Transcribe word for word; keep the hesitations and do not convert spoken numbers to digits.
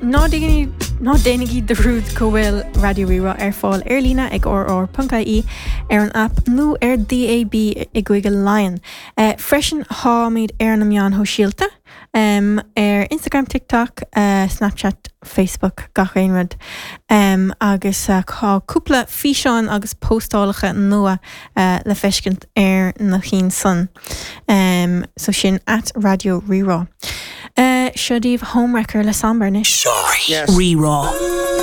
Ná ná déanaigí dearmad go bhfuil Raidió Rí-Rá ar fáil ar líne ag R R ponc I E, ar an app nó ar D A B i gCúige Laighean. Uh, freisin táimid ar na meáin shóisialta um, ar Instagram, TikTok, uh, Snapchat, Facebook, gach aon rud. Um, agus uh, tá cúpla físeán agus postálacha nua uh, le feiscint ar na cinn san. Um, so sin at Raidió Rí-Rá. Uh, seo daoibh Homewrecker le Somber anois. Yes. Rí-Rá.